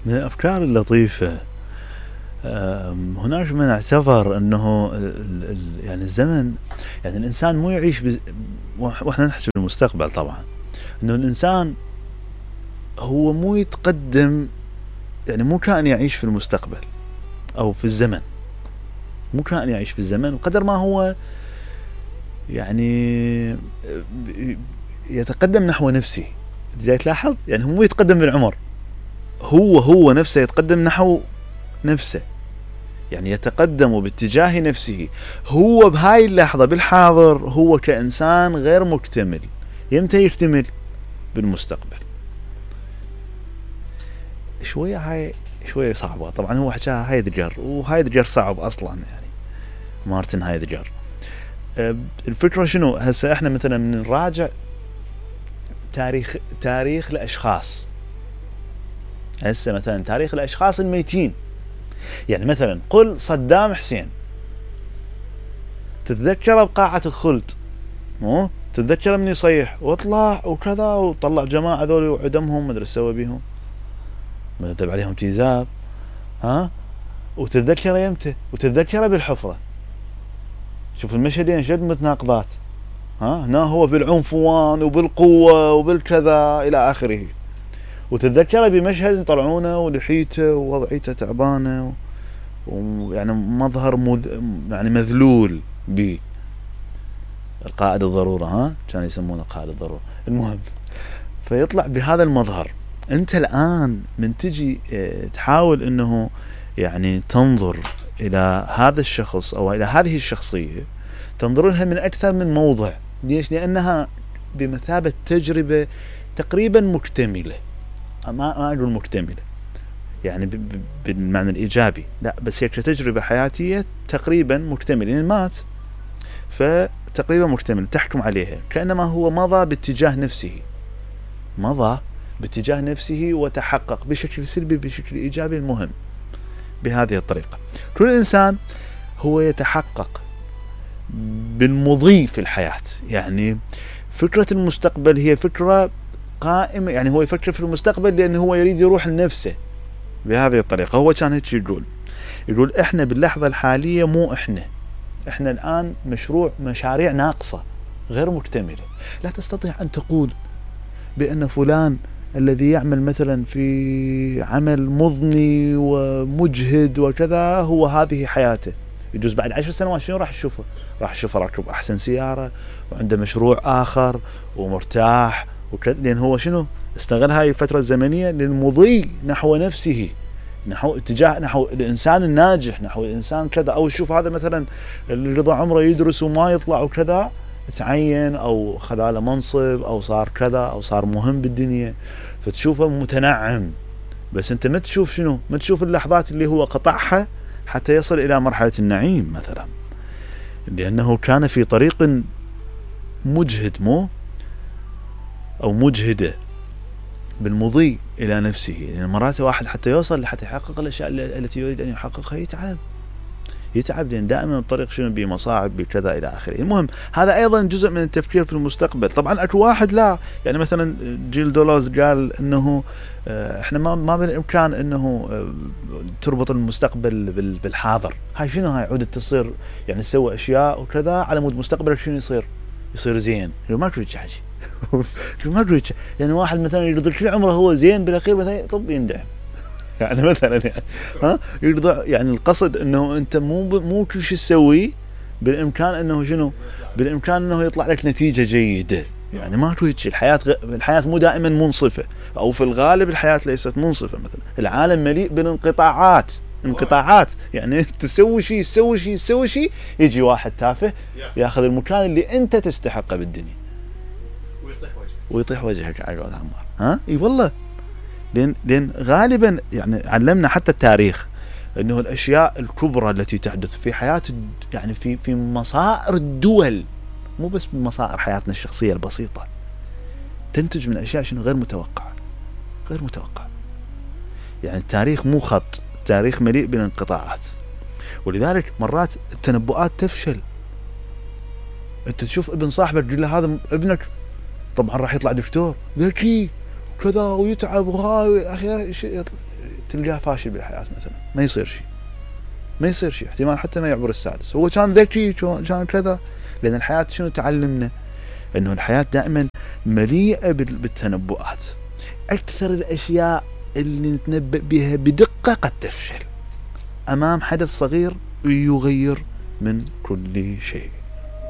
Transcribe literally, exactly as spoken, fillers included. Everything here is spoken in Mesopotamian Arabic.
من الأفكار اللطيفة هناك من اعتبر أنه يعني الزمن، يعني الإنسان مو يعيش بز... وإحنا نحكي بالمستقبل طبعا، أنه الإنسان هو مو يتقدم، يعني مو كائن يعيش في المستقبل أو في الزمن، مو كائن يعيش في الزمن قدر ما هو يعني يتقدم نحو نفسه. جاي تلاحظ يعني هو مو يتقدم بالعمر، هو هو نفسه يتقدم نحو نفسه، يعني يتقدم باتجاه نفسه. هو بهاي اللحظة بالحاضر هو كإنسان غير مكتمل، يمتى يكتمل؟ بالمستقبل. شوية هاي شوية صعبة طبعا، هو حكاها هايدجر، وهايدجر صعب أصلا يعني مارتن هايدجر. الفكرة شنو؟ هسه احنا مثلا من نراجع تاريخ تاريخ الأشخاص، هسه مثلا تاريخ الأشخاص الميتين، يعني مثلا قل صدام حسين، تتذكر بقاعة الخلد، مو تتذكر من يصيح وطلع وكذا وطلع جماعة ذولي وعدمهم مدري سوى بيهم، مدرب عليهم تيزاب، ها، وتتذكر يمتى، وتتذكر بالحفرة. شوف المشهدين شد متناقضات، ها، هنا هو بالعنفوان وبالقوة وبالكذا إلى آخره، وتتذكر بمشهد يطلعونه ولحيته ووضعيته تعبانة ويعني مظهر مذ... يعني مذلول به، القائد الضرورة، ها كان يسمونه قائد الضرورة. المهم فيطلع بهذا المظهر. انت الآن من تجي تحاول انه يعني تنظر الى هذا الشخص او الى هذه الشخصية، تنظر لها من اكثر من موضع. ليش؟ لانها بمثابة تجربة تقريبا مكتملة، ما ما اقول مكتملة يعني بالمعنى الايجابي، لا، بس هي كتجربة حياتية تقريبا مكتملة، يعني مات فتقريبا مكتمل، تحكم عليها كأنما هو مضى باتجاه نفسه، مضى باتجاه نفسه وتحقق بشكل سلبي بشكل ايجابي. المهم بهذه الطريقة كل انسان هو يتحقق بالمضي في الحياة. يعني فكرة المستقبل هي فكرة قائمة، يعني هو يفكر في المستقبل لأنه هو يريد يروح لنفسه بهذه الطريقة. هو كان هيك يقول يقول احنا باللحظة الحالية مو احنا احنا الآن مشروع مشاريع ناقصة غير مكتملة. لا تستطيع أن تقول بأن فلان الذي يعمل مثلا في عمل مضني ومجهد وكذا هو هذه حياته. يجوز بعد عشر سنوات شنو راح تشوفه؟ راح تشوفه راكب أحسن سيارة وعنده مشروع آخر ومرتاح وكذا، لأن هو شنو استغل هاي الفترة الزمنية للمضي نحو نفسه، نحو اتجاه نحو الإنسان الناجح، نحو الإنسان كذا. أو شوف هذا مثلا اللي رضى عمره يدرس وما يطلع وكذا، تعين أو خذ له منصب أو صار كذا أو صار مهم بالدنيا، فتشوفه متنعم. بس أنت ما تشوف شنو؟ ما تشوف اللحظات اللي هو قطعها حتى يصل إلى مرحلة النعيم مثلا، لأنه كان في طريق مجهد مو أو مجهدة بالمضي إلى نفسه. يعني مرات واحد حتى يوصل لحتى يحقق الأشياء التي يريد أن يحققها يتعب يتعب لأن دائما الطريق شنو بمصاعب بكذا إلى آخره. المهم هذا أيضا جزء من التفكير في المستقبل. طبعا أكو واحد لا، يعني مثلا جيل دولوز قال إنه إحنا ما ما بالإمكان إنه تربط المستقبل بالحاضر. هاي شنو؟ هاي عودة تصير يعني تسوي أشياء وكذا على مود مستقبلك شنو يصير يصير زين. ما كنت حاجة ما كنت يعني واحد مثلا يرضي كل عمره هو زين بالأخير مثلا طب يندعم يعني مثلا يعني ها يرضى. يعني القصد انه انت مو مو كل شيء تسويه بالامكان انه شنو بالامكان انه يطلع لك نتيجه جيده. يعني ما توجه الحياه غ... الحياه مو دائما منصفه، او في الغالب الحياه ليست منصفه. مثلا العالم مليء بالانقطاعات انقطاعات يعني تسوي شيء تسوي شيء تسوي شيء يجي واحد تافه ياخذ المكان اللي انت تستحقه بالدنيا ويطيح وجهك ويطيح وجهك على قول عمار. ها اي والله، لأن لأن غالبا يعني علمنا حتى التاريخ أنه الأشياء الكبرى التي تحدث في حياة يعني في في مصائر الدول، مو بس مصائر حياتنا الشخصية البسيطة، تنتج من أشياء شنو غير متوقعة غير متوقعة. يعني التاريخ مو خط، التاريخ مليء بالانقطاعات، ولذلك مرات التنبؤات تفشل. أنت تشوف ابن صاحبك تقول له هذا ابنك طبعا راح يطلع دكتور ذكي كذا ويتعب وهاي اخي تلقاه فاشل بالحياة مثلا، ما يصير شيء ما يصير شيء احتمال حتى ما يعبر السادس. هو كان ذكي كان كذا، لأن الحياة شنو تعلمنا؟ أنه الحياة دائما مليئة بالتنبؤات. أكثر الأشياء اللي نتنبأ بها بدقة قد تفشل أمام حدث صغير يغير من كل شيء.